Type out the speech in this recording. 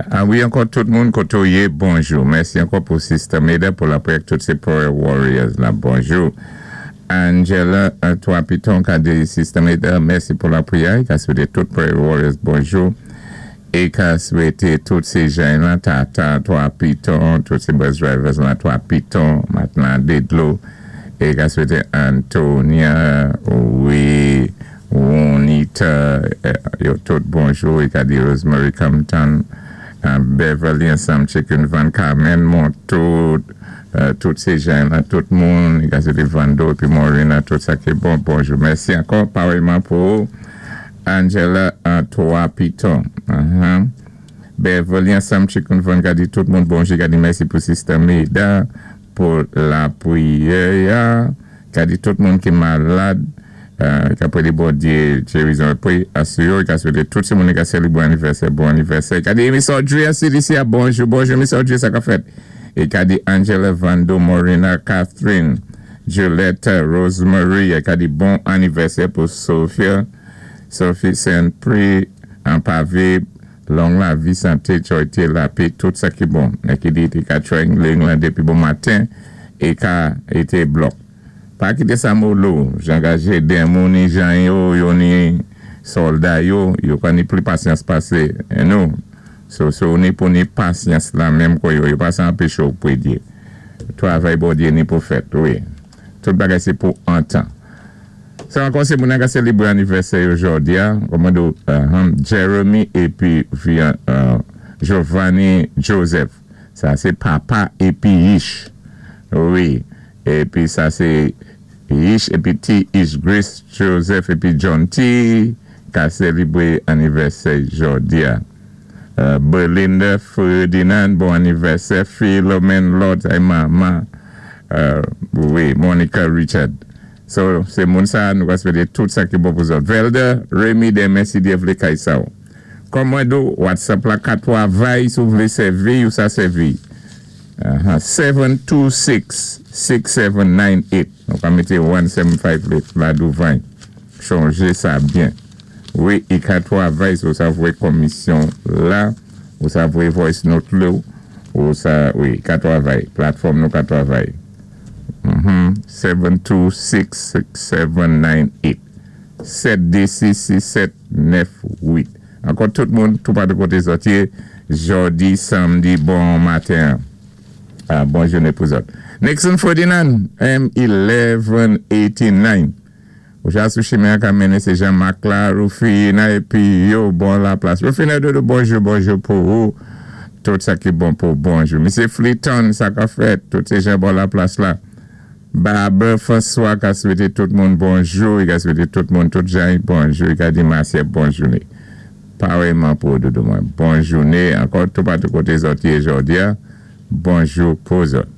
Ah wi, ankò tout moun koté ou yé, bonjou. Mèsi ankò pou Sister Meda pou lapriyè tout sé Prayer Warriors la. Bonjou. Angela, Trois Pitons, ka di Sister Meda, mèsi pou lapriyè. Ka swété tout Prayer Warriors bonjou. É ka swété tout sé jan la, Tata, Trois Pitons, tout sé bus drivers la, Trois Pitons, matnan Dedlo. É ka swété Antonia, wi, Juanita, yo tout bonjou. É ka di Rosemary Compton, Beverly ansanm Chicken Van Carmen, Monto, tout sé jan la, tout moun, i ka swété Vando, épi Morena, tout sa ki bon, bonjou. Mèsi ankò, parèyman pou Angela, Trois Pitons. Beverly ansanm Chicken Van ka di tout moun bonjou, ka di mèsi pou Sister Meda, pou lapriyè, ka di tout moun ki malad, ka pwédé Bondyé gérizon épi asou yo, ka swété tout sé moun ka sélébwé anivèsè, bon anivèsè. Ka di Miss Audrey a CDC a bonjou, bonjou Miss Audrey, sa ka fèt. É ka di Angela Vando, Morena, Catherine, Juliette, Rosemary, é ka di bon anivèsè pou Sophia, Sophie Saint-Prix, an pavé, long lavi, santé, joyté, lapè, tout sa ki bon. É ki di, té ka try lan dépi bon maten, é ka été block. Pa kité sa molo, jan gaje den moun ni jan yo, yo ni sòlda yo, yo pa ni pli pasyans pasé nou. So ni pou ni pasyans la menm kwa yo, yo pa sa anpéché ou pwédyé. Twavay Bondyé ni pou fèt, wi. Tout bagay sé pou an tan. Sa ankò sé moun ka sélébwé anivèsè yo jòdi a, kòman Jeremy épi Giovanni Joseph. Sa sé papa épi Ish. Wi. Épi sa sé Ish épi T. Ish Grace Joseph épi John T. ka sélébwé anivèsè jòdi a. Belinda Ferdinand, bon anivèsè. Philomene Lord, ay manman. Wi, Monica Richard. So, sé moun sa, nou ka swété tout sa ki bon pou zòt. Velda, Remy, denmen si Dyé vlé kay sa ou. Kòm mwen di ou, WhatsApp la 4 vay, si ou vlé sèvi ou sa sèvi. 726-6798. Nou ka mété 175 la douvan. Chanjé sa byen. Wi, i ka twavay, ou sa voyé komisyon la, ou sa voyé voice note la, ou sa, wi, ka twavay. Platfòm nou ka twavay. 726-6798. 726-6798. Ankò tout moun, tout patou koté zòt yé, jòdi, samdi, bon maten. Ah, bon jounen pou zòt. Nixon Ferdinand, M1189. Ou ja sou chimen ka mennen sé Jean-Marc la, Rufina, épi yo, bon la plas. Rufina Dodo, bonjou, bonjou pou ou. Tout sa ki bon pou bonjou. Misye Fleeton, sa ka fèt, tout sé jan bon la plas la. Barber François ka swété tout moun bonjou, i ka swété tout moun tout jan bonjou, i ka di Marcia bon jounen. Parèyman pou Dodo mwen. Bon jounen, ankò tout patou koté zòt yé jòdi a. Bonjou pou zòt.